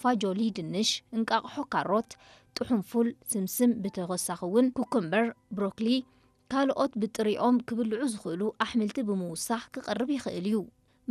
ፋጆሊ፣ ድንሽ፣ እንቃቕሖ፣ ካሮት፣ ጥሑን ፉል፣ ስምስም፣ ብተወሳኺ እውን ኩኩምበር፣ ብሮኮሊ፣ ካልኦት ብጥሪኦም ክብልዑ ዝኽእሉ ኣሕምልቲ ብምውሳኽ ክቐርብ ይኽእል እዩ።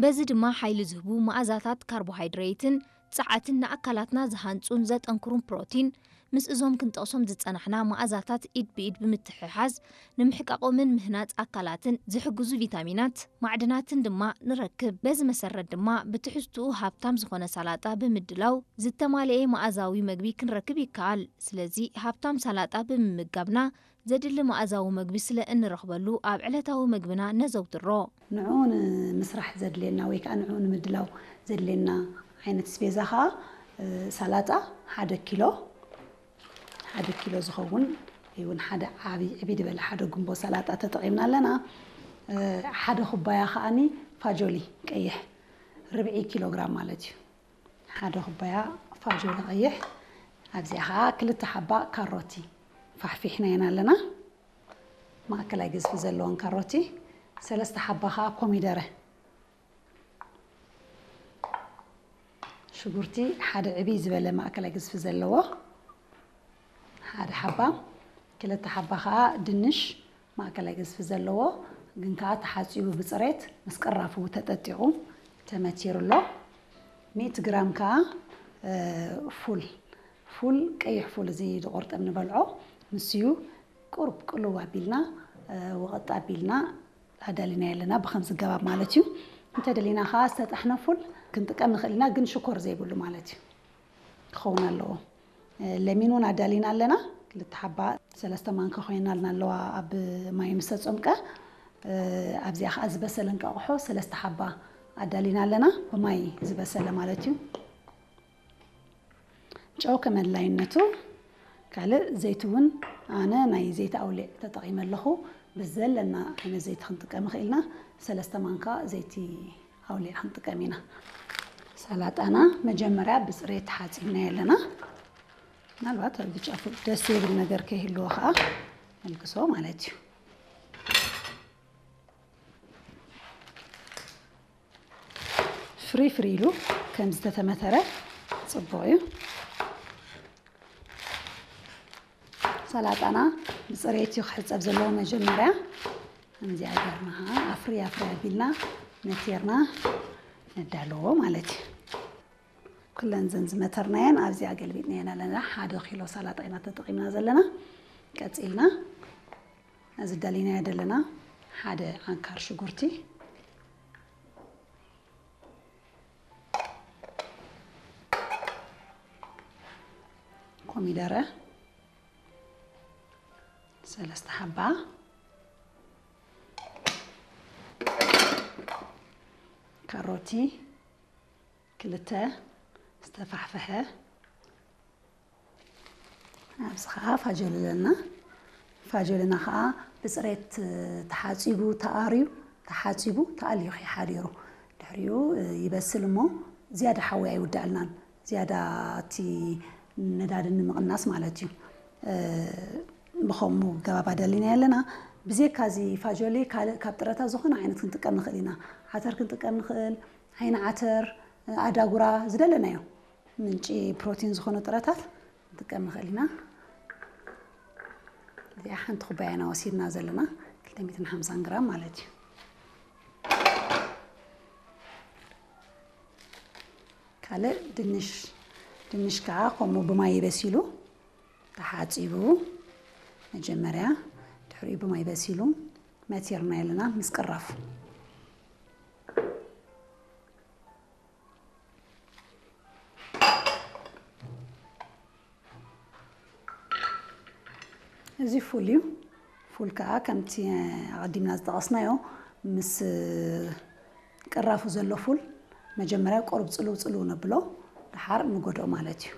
በዚ ድማ ሓይሊ ዝህቡ መኣዛታት ካርቦሃይድሬትን ጸዓትን ንኣካላትና ዝሃንጹን ዘጠንክሩን ፕሮቲን፣ ምስ እዞም ክንጠቕሶም ዝጸናሕና መኣዛታት ኢድ ብኢድ ብምትሕሓዝ ንምሕቃቖምን ምህናጽ ኣካላትን ዝሕግዙ ቪታሚናት፣ ማዕድናትን ድማ ንረክብ። በዚ መሰረት ድማ ብትሕዝትኡ ሃብታም ዝኾነ ሳላጣ ብምድላው ዝተማልኤ መኣዛዊ መግቢ ክንረክብ ይከኣል። ስለዚ ሃብታም ሳላጣ ብምምጋብና ዘድሊ መኣዛዊ መግቢ ስለ እንረኽበሉ ኣብ ዕለታዊ መግብና ነዘውትሮ። ንዕኡ ንምስራሕ ዘድልየና ወይ ከዓ ንዕኡ ንምድላው ዘድልየና ዓይነት ስቤዛ ከዓ ሳላጣ ሓደ ኪሎ ሓደ ኪሎ ዝኸውን ይውን ሓደ ዓብይ ዕብይ ዝበለ ሓደ ጉምቦ ሰላጣ ተጠቒምና ኣለና። ሓደ ኩባያ ከዓኒ ፋጆሊ ቀይሕ ርብዒ ኪሎ ግራም ማለት እዩ። ሓደ ኩባያ ፋጆሊ ቀይሕ። ኣብዚኣ ከዓ ክልተ ሓባ ካሮቲ ፋሕፊሕናየን ኣለና። ማእከላይ ግዝፊ ዘለወን ካሮቲ፣ ሰለስተ ሓባ ከዓ ኮሚደረ። ሽጉርቲ ሓደ ዕብይ ዝበለ ማእከላይ ግዝፊ ዘለዎ ሓደ ሓባ፣ ክልተ ሓባ ከዓ ድንሽ ማእከላይ ግዝፊ ዘለዎ፣ ግን ከዓ ተሓፂቡ ብፅሬት ምስ ቅራፉ ተጠጢቑ ተመቲሩ ኣሎ። ሚእቲ ግራም ከዓ ፉል፣ ፉል ቀይሕ ፉል እዚ ዝቆርጠም ንበልዖ ንስዩ ቁሩብ ቅልው ኣቢልና ወቐጥ ኣቢልና ኣዳሊናዮ ኣለና። ብኸምዚ ገባብ ማለት እዩ። እንተደሊና ከዓ ዝተጠሕነ ፉል ክንጥቀም ንኽእል ኢና፣ ግን ሽኮር ዘይብሉ ማለት እዩ ክኸውን ኣለዎ። ለሚን እውን ኣዳሊና ኣለና። ክልተ ሓባ ሰለስተ ማንካ ኮይና ኣለዋ ኣብ ማይ ምስ ተፀምቀ። ኣብዚኣ ከዓ ዝበሰለ እንቃቑሖ ሰለስተ ሓባ ኣዳሊና ኣለና፣ ብማይ ዝበሰለ ማለት እዩ። ጨው ከመድላይነቱ። ካልእ ዘይቲ እውን ኣነ ናይ ዘይቲ ኣውሊዕ ተጠቒመ ኣለኹ። ብዘለና ዓይነት ዘይቲ ክንጥቀም ይኽእል ኢና። ሰለስተ ማንካ ዘይቲ ኣውሊዕ ክንጥቀም ኢና። ሰላጣና መጀመርያ ብፅሬት ሓፂብናዮ ኣለና። ምናልባት ኣብ ብጫ ፉል ደስ ዘይብል ነገር ከይህልዎ ከዓ ነልግሶ ማለት እዩ። ፍሪ ፍሪ ኢሉ ከም ዝተተመተረ ፅቡቕ እዩ። ሰላጣና ብፅሬት እዩ ክሕፀብ ዘለዎ። መጀመርያ ከምዚኣ ገርና ኣፍሪ ኣፍሪ ኣቢልና ነቲርና ነዳለዎ ማለት እዩ። ኩለን ዘን ዝመተርናየን ኣብዚኣ ገልቢጥናየን ኣለና። ሓደ ኪሎ ሰላጣ ኢና ተጠቒምና ዘለና። ቀፂልና እዚ ደሊናዮ ዘለና ሓደ ዓንካር ሽጉርቲ፣ ኮሚደረ ሰለስተ ሓባ፣ ካሮቲ ክልተ ዝተፋሕፈሐ፣ ኣብዚ ከዓ ፋጆሊ ኣለና። ፋጆልና ከዓ ብፅሬት ተሓፂቡ ተኣርዩ፣ ተሓፂቡ ተኣልዩ ከይሓዲሩ ድሕሪኡ ይበስል እሞ ዝያዳ ሓዊ ኣይውዳእልናን፣ ዝያዳ እቲ ነዳዲ ንምቕናስ ማለት እዩ። ብኸምኡ ገባብ ኣዳሊናዮ ኣለና። ብዜካ እዚ ፋጆሊ ካልእ ካብ ጥረታት ዝኾነ ዓይነት ክንጥቀም ንኽእል ኢና። ዓተር ክንጥቀም ንኽእል፣ ዓይኒ ዓተር፣ ኣዳጉራ፣ ዝደለናዮ ምንጪ ፕሮቲን ዝኾኑ ጥረታት ክንጥቀም ንኽእል ኢና። እዚኣ ሓንቲ ኩባያ ኢና ወሲድና ዘለና፣ ክልተ ሚእትን ሓምሳን ግራም ማለት እዩ። ካልእ ድንሽ፣ ድንሽ ከዓ ከምኡ ብማይ በሲሉ ተሓፂቡ መጀመርያ፣ ድሕሪኡ ብማይ በሲሉ መቲርና ኣለና ምስ ቅራፉ። እዚ ፉል እዩ። ፉል ከዓ ከምቲ ኣቐዲምና ዝጠቐስናዮ ምስ ቅራፉ ዘሎ ፉል መጀመርያ ቁሩብ ጽልው ጽልው ነብሎ፣ ደሓር ንጎድኦ ማለት እዩ።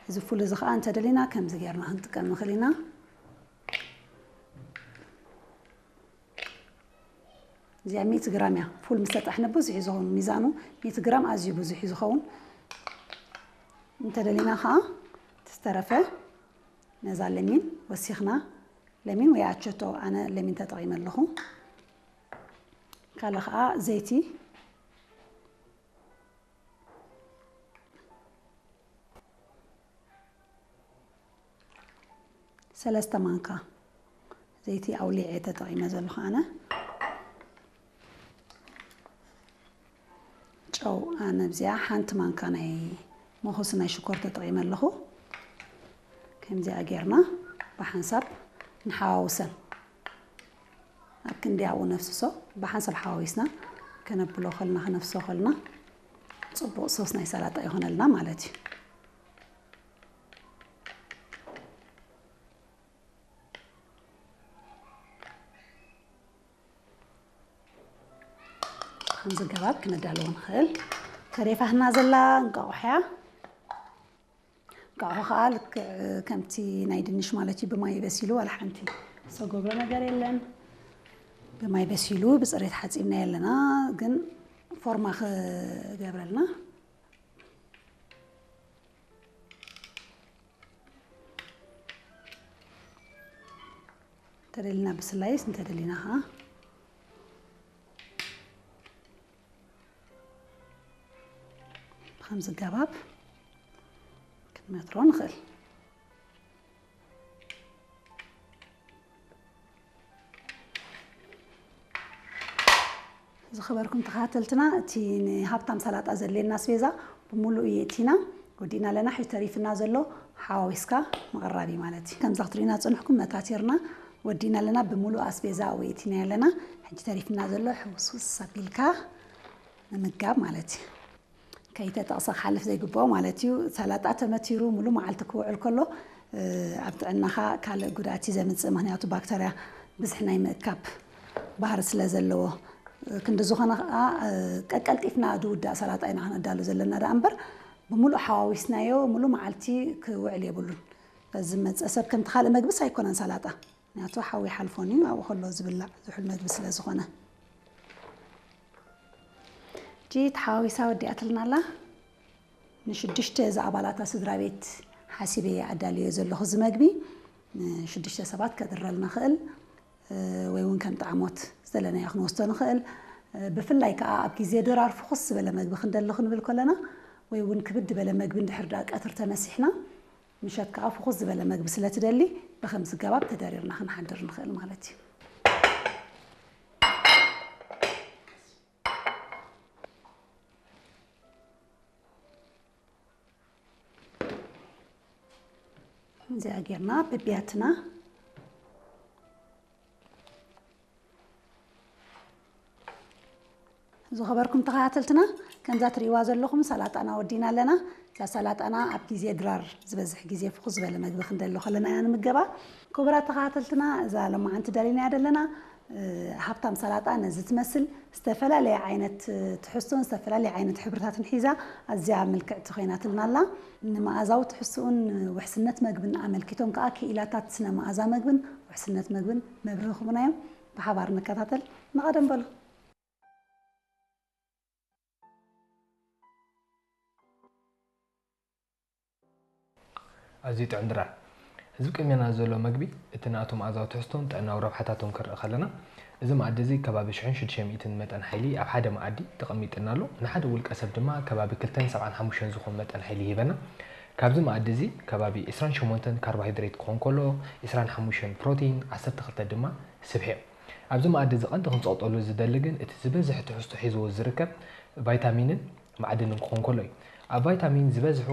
እዚ ፉል እዚ ከዓ እንተደሊና ከምዚ ጌርና ክንጥቀም ንኽእል ኢና። እዚኣ ሚእቲ ግራም እያ። ፉል ምስ ተጠሕነ ብዙሕ እዩ ዝኸውን፣ ሚዛኑ ሚእቲ ግራም ኣዝዩ ብዙሕ እዩ ዝኸውን። እንተደሊና ከዓ እቲ ዝተረፈ ነዛ ለሚን ወሲኽና፣ ለሚን ወይ ኣቸቶ፣ ኣነ ለሚን ተጠቒመ ኣለኹ። ካልእ ከዓ ዘይቲ፣ ሰለስተ ማንካ ዘይቲ ኣውሊዐ ተጠቒመ ዘለኹ ኣነ። ጨው ኣነ ኣብዚኣ ሓንቲ ማንካ ናይ መኹስ ናይ ሽኮር ተጠቒመ ኣለኹ። ከምዚኣ ጌርና ብሓንሳብ ንሓዋውሰን። ኣብ ክንዲ ኣብኡ ነፍስሶ ብሓንሳብ ሓዋዊስና ከነብሎ ከልና፣ ከነፍስሶ ከልና ጽቡቕ ሶስ ናይ ሰላጣ ይኾነልና ማለት እዩ። ከምዚ ገባብ ክነዳልዎ ንኽእል። ተሪፋትና ዘላ እንቋቑሖ እያ። እንቋቑሖ ከዓ ልክዕ ከምቲ ናይ ድንሽ ማለት እዩ፣ ብማይ በሲሉ ዋላ ሓንቲ ዝተገብሮ ነገር የለን። ብማይ በሲሉ ብፅሬት ሓፂብና የለና፣ ግን ፎርማ ክገብረልና እንተደሊና ብስላይስ እንተደሊና ከዓ ብከምዚ ገባብ ክንመትሮ ንኽእል። ዝኸበርኩም ተኸታተልትና፣ እቲ ንሃብታም ሰላጣ ዘድልየና ኣስቤዛ ብምሉእ የእቲና ወዲእና ኣለና። ሕጂ ተሪፍና ዘሎ ሓዋዊስካ ምቕራብ እዩ ማለት እዩ። ከምዛ ክትሪእና ዝጸንሕኩም መታቲርና ወዲእና ኣለና። ብምሉእ ኣስቤዛ ኣብኡ የእቲና ኣለና። ሕጂ ተሪፍና ዘሎ ሕውስውስ ኣቢልካ ምምጋብ ማለት እዩ። ከይተጠቕሰ ክሓልፍ ዘይግብኦ ማለት እዩ። ሰላጣ ተመቲሩ ሙሉ መዓልቲ ክውዕል ከሎ፣ እ፣ ኣብ ጥዕናኻ ካልእ ጉድኣት እዩ ዘምጽእ። ምኽንያቱ ባክተርያ ብዝሒ ናይ ምእካብ ባህሪ ስለ ዘለዎ። እ፣ ክንዲ ዝኾነ ኸኣ፣ እ፣ ቀቀልጢፍና ዝውዳእ ሰላጣ ኢና ክነዳሉ ዘለና ደኣ እምበር፣ ብምሉእ ሓዋዊስናዮ ሙሉ መዓልቲ ክውዕል የብሉን። በዚ መጸ ሰብ ከምቲ ካልእ መግብስ ኣይኮነን ሰላጣ። ምኽንያቱ ሓዊ ሓልፎን እዩ፣ ኣብኡ ከሎ ዝብላዕ ዝሑል መግቢ ስለ ዝኾነ። እጂ ተሓዋዊሳ ወዲኣትልና ኣላ። ንሽዱሽተ ዝኣባላታ ስድራ ቤት ሓሲበ ኣዳልዮ ዘለኹ እዚ መግቢ። ንሽዱሽተ ሰባት ከድረልና ኽእል፣ እ፣ ወይ እውን ከም ጣዕሞት ዝደለናዮ ክንወስዶ ንኽእል። እ፣ ብፍላይ ከዓ ኣብ ግዜ ድራር ፍኹስ ዝበለ መግቢ ክንደሊ ክንብል ከለና፣ ወይ እውን ክብድ ዝበለ መግቢ እንድሕር ደኣ ቀትር ተመሲሕና፣ ምሸት ከዓ ፍኹስ ዝበለ መግቢ ስለ ትደሊ፣ ብኸምዚ ገባብ ተደሪርና ክንሓድር ንኽእል ማለት እዩ። እዚኣ ጌርና በቢያትና። ዝኸበርኩም ተኸታተልትና፣ ከምዛ ትርእይዋ ዘለኹም ሰላጣና ወዲና ኣለና። እዛ ሰላጣና ኣብ ግዜ ድራር ዝበዝሕ ግዜ ፍኹስ ዝበለ መግቢ ክንደሊ ከለና ኢና ንምገባ። ክቡራት ተኸታተልትና፣ እዛ ሎማዓንቲ ደሊናያ ዘለና፣ እ፣ ሃብታም ሰላጣ ነዚ ትመስል ዝተፈላለየ ዓይነት፣ እ፣ ትሕዝቶን ዝተፈላለየ ዓይነት ሕብርታትን ሒዛ ኣዝያ ምልክዕቲ ኮይናትልና ኣላ። ንመኣዛዊ ትሕዝቶኡን ውሕስነት መግብን ኣመልኪቶም ከኣ ክኢላታት ስነ መኣዛ መግብን ውሕስነት መግብን መብርሂ ክህቡና እዮም። ብሓባር ንከታተል። ንቐደም በሉ። ኣዝዩ ጥዑም ድራር። እዚ ቅድሜና ዘሎ መግቢ፣ እቲ ናቱ መኣዛዊ ትሕዝቶን ጥዕናዊ ረብሓታቱን ክንርኢ ከለና፣ እዚ መኣዲ እዚ ከባቢ ሽሕን ሽዱሽተ ሚእትን መጠን ሓይሊ ኣብ ሓደ መኣዲ ተቐሚጥና ኣሎ። ንሓደ ውልቀ ሰብ ድማ ከባቢ ክልተን ሰብዓን ሓሙሽተን ዝኾን መጠን ሓይሊ ይህበና። ካብዚ መኣዲ እዚ ከባቢ ዕስራን ሸሞንተን ካርቦሃይድሬት ክኾን ከሎ፣ ዕስራን ሓሙሽተን ፕሮቲን፣ ዓሰርተ ክልተ ድማ ስብሒ እዮም። ኣብዚ መኣዲ እዚ ቀንዲ ክንጸቕጠሉ ዝደሊ ግን እቲ ዝበዝሕ ትሕዝቶ ሒዝዎ ዝርከብ ቫይታሚንን ማዕድንን ክኾን ከሎ እዩ። ኣብ ቫይታሚን ዝበዝሑ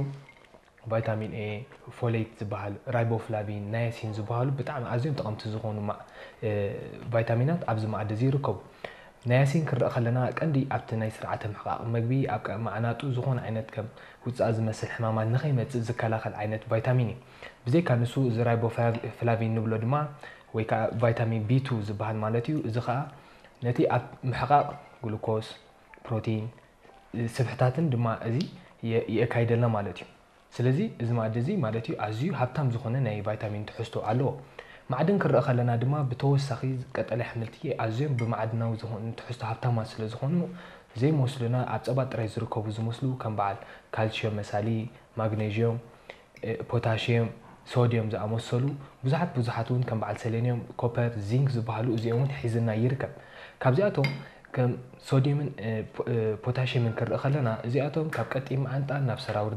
ቫይታሚን ኤ፣ ፎሌት ዝበሃል፣ ራይቦፍላቪን፣ ናያሲን ዝበሃሉ ብጣዕሚ ኣዝዮም ጠቐምቲ ዝኾኑ ማ-፣ እ፣ ቫይታሚናት ኣብዚ መኣዲ እዚ ይርከቡ። ናያሲን ክንርኢ ከለና ቀንዲ ኣብቲ ናይ ስርዓተ ምሕቃቕ መግቢ ኣብ ቀ-፣ ማዕናጡ ዝኾነ ዓይነት ከም ውጻእ ዝመስል ሕማማት ንኸይመጽእ ዝከላኸል ዓይነት ቫይታሚን እዩ። ብዘይካ ንሱ እዚ ራይቦፍላቪን ንብሎ ድማ ወይ ከዓ ቫይታሚን ቢ ቱ ዝበሃል ማለት እዩ። እዚ ከዓ ነቲ ኣብ ምሕቃቕ ግሉኮስ፣ ፕሮቲን፣ ስብሕታትን ድማ እዚ የ-፣ የካይደልና ማለት እዩ። ስለዚ እዚ መኣዲ እዚ ማለት እዩ ኣዝዩ ሃብታም ዝኾነ ናይ ቫይታሚን ትሕዝቶ ኣለዎ። ማዕድን ክረአ ከለና ድማ ብተወሳኺ ቀጠልያ ኣሕምልቲ ኣዝዮም ብማዕድናዊ ዝኾኑ ትሕዝቶ ሃብታማት ስለ ዝኾኑ ዘይመስሉና ኣብ ጸባ ጥራይ ዝርከቡ ዝመስሉ ከም በዓል ካልሲዮም መሳሊ፣ ማግኔዥዮም፣ እ፣ ፖታሽየም፣ ሶድየም ዝኣመሰሉ ብዙሓት ብዙሓት እውን ከም በዓል ሰሌንየም፣ ኮፐር፣ ዚንክ ዝበሃሉ እዚኦም እውን ሒዝና ይርከብ። ካብዚኣቶም ከም ሶድየምን፣ እ፣ ፖ-፣ እ፣ ፖታሽየምን ክንርኢ ከለና እዚኣቶም ካብ ቀጢን መዓንጣ ናብ ሰራውር